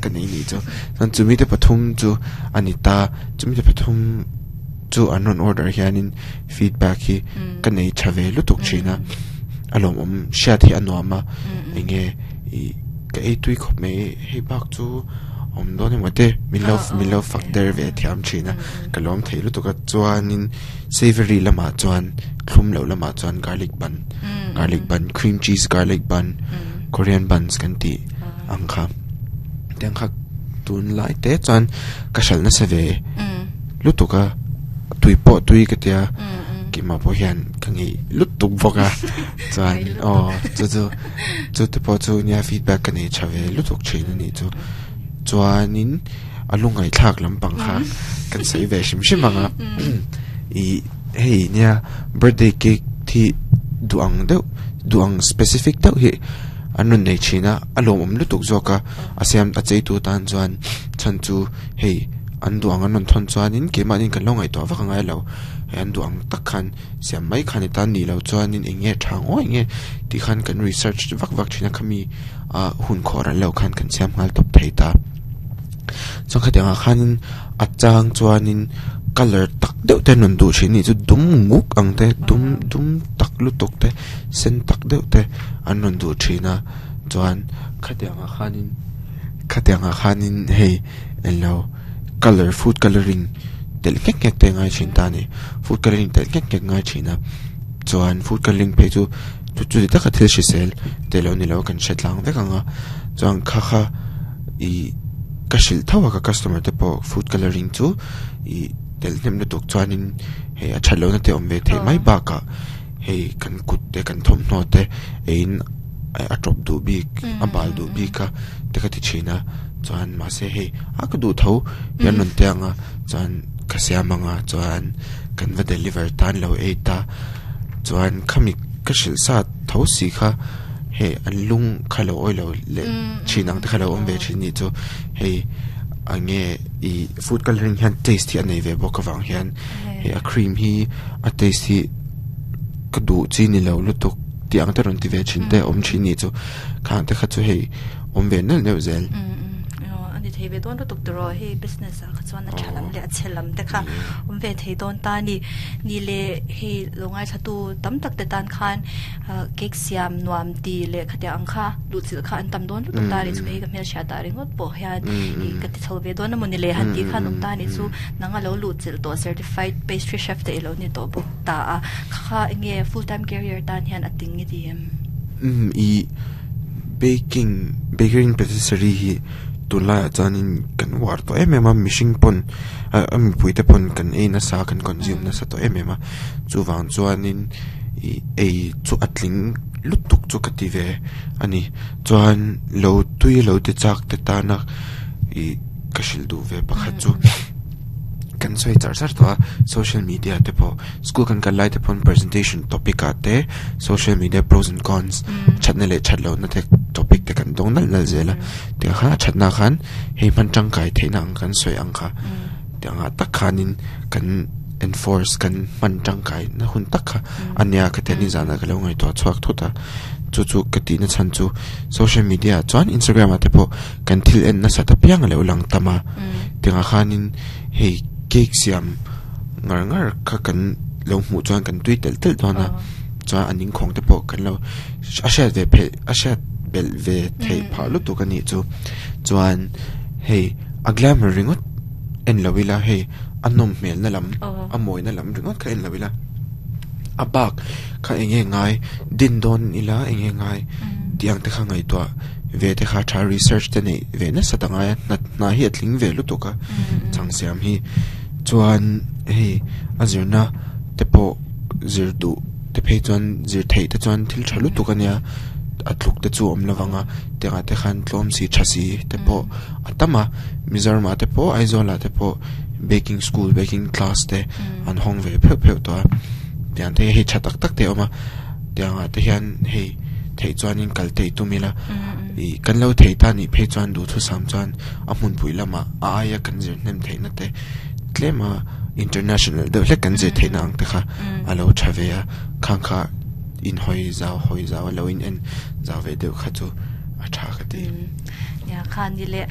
ka nei ni chu chuan chumi te pathum chu a ni ta chumi te pathum chu an rawn order hianin feedback hi ka nei tha ve lutuk thin a a lawmawm hriat hi a nuam a enge ih ka ei tui khawp mai hei bak chu awm dawn emaw te min lo min lo fak der ve thiam thin a ka lawm thei lutuk a chuanin savory lamah chuan thlum loh lamah chuan garlic bun garlic bun cream cheese garlic bun korean buns kan tih ang kha tiang kha tunlai te chuan ka hralh nasa ve lutuk a tui pawh tui ka tia keimah pawh hian ka ngeih lutuk bawk a chuan aw chu chu chu te pawh chu nia feedback ka nei tha ve lutuk thin a nih chu chuanin a lungngaihthlak lampang kha kan sawi ve hrim hrim ang a ih hei nia birthday cake hi duh ang deuh duh ang specific deuh hi an rawn nei thin a a lawmawm lutuk zawk a a siam a cheitu tan chuan chhan chu hei an duh ang an rawn thawn chuanin keimahni kan lo ngaihtuah vak angai lo hei an duh ang tak khan siam mai khan i tan nih loh chuanin eng nge tha ngawi nge tih khan kan research vak vak thin a khami ah hun khawh ral loh khan kan siam nghal tawp thei ta chuan khatiang ah khanin a chang chuanin colour tak deuh te an rawn duh thin a nih chu dum nguk ang te dum dum tak lutuk te sen tak deuh te an rawn duh thin a chuan khatiang ah khanin khatiang ah khanin hei englo colour food colouring telh nghek nghek te a ngai thin ta a ni food colouring telh nghek nghek a ngai thin a chuan food colouring phei chu chu chuti taka thil hrisel te lo ni lo a kan hre tlang vek ang a chuan kha kha ih ka hrilh tho a ka customer te pawh food colouring chu ih telh hnem lutuk chuanin hei a that lohna te a awm ve theih mai bakah hei kan kut te kan thawmhnaw te eiin a tawp duh bik a bal duh bik a te ka ti thin a chuan mahse hei a ka duh tho hian rawn ti ang a chuan ka siam ang a chuan kan va deliver tan lo ei ta chuan khami ka hrilh sa tho si kha hei an lung kha lo awilo leh thin ang te kha lo awm ve thin nih chu hei eng nge ih food colouring hian taste hi a nei ve bawk avang hian hei a cream hi a taste hi ka duh chi ni lo lutuk tih ang te rawn ti ve thin te awm thin nih chu khang te kha chu hei awm ve neuh neuh zel. A ni thei ve dawn lutuk tiraw hei business ah kha chuan a tha lam leh a chhe lam te kha awm ve thei dawn ta a ni. Ni leh hei lo ngaithlatu tam tak te tan khan cake siam nuam ti leh khatiang ang kha luhchilh kha an tam dawn lutuk ta a ni chu hei ka hmelhriat ah ringawt pawh hian ih ka ti chho ve dawn emaw ni le han tih khan awm ta a ni chu nang a lo luhchilh tawh certified pastry chef te i lo ni tawh bawk ta a kha kha enge full time career tan hian a ting i ti em? Umm ih baking bakery and patisserie hi tunlaiah chuanin kan uar tawh em em a mihring pawn a mipui te pawn kan ei nasa kan consume nasa tawh em em a chuvang chuanin ih ei chu a tling lutuk chu ka ti ve a ni chuan lo tui lo ti chak te tana ih ka hrilh duh ve pakhat chu. Kan sawi char char tawh a social media te pawh school kan kal lai te pawn presentation topic ah te social media pros and cons thatna leh that lohna te topic te kan dawng nalh nalh zel a tiang khan a thatna khan hei hman tangkai theihna ang kan sawi ang kha tiang ah tak khanin kan enforce kan hman tangkai na hun tak kha a nia ka ti a nizanah ka lo ngaihtuah chhuak thut a chu chu ka tihna chhan chu social media ah chuan instagram ah te pawh kan thil en nasat apiang a lo lang tam a tiangah khanin hei cake siam ngar ngar kha kan lo hmuh chuan kan tui telh telh dawn a chuan a ningkhawng te pawh kan lo a hriat ve pheih a hriat belh ve theih phah lutuk a nih chu chuan hei a glamour ringawt en lo ila hei a nawm hmel na lam a mawi na lam ringawt kha en lo ila a bak kha eng nge ngai din dawn ila eng nge ngai tih ang te kha ngaihtuah ve te kha tha research te neih ve nasa ta ngai a hna hna hi a tling ve lutuk a chhang siam hi chuan hei a zirna te pawh zir duh te phei chuan zir theih te chuan thil tha lutuk a nia a tluk te chu a awm lovang a tiangah te khan tlawm si tha si te pawh a tam a Mizoram ah te pawh Aizawl ah te pawh baking school baking class te an hawng ve pheuh pheuh tawh a tiang te hi hei tha tak tak te a awm a tiangah te hian hei theih chuanin kal te i tum ila ih kan lo thei ta nih phei chuan duhthusam chuan a hmunpui lamah a aia kan zir hnem theihna te tlem a international deuh hlek kan zir theihna ang te kha a lo tha ve a khang kha inhawi zau hawi zau a lo in en zau ve deuh kha chu a tha ka ti. Nia kha ni le.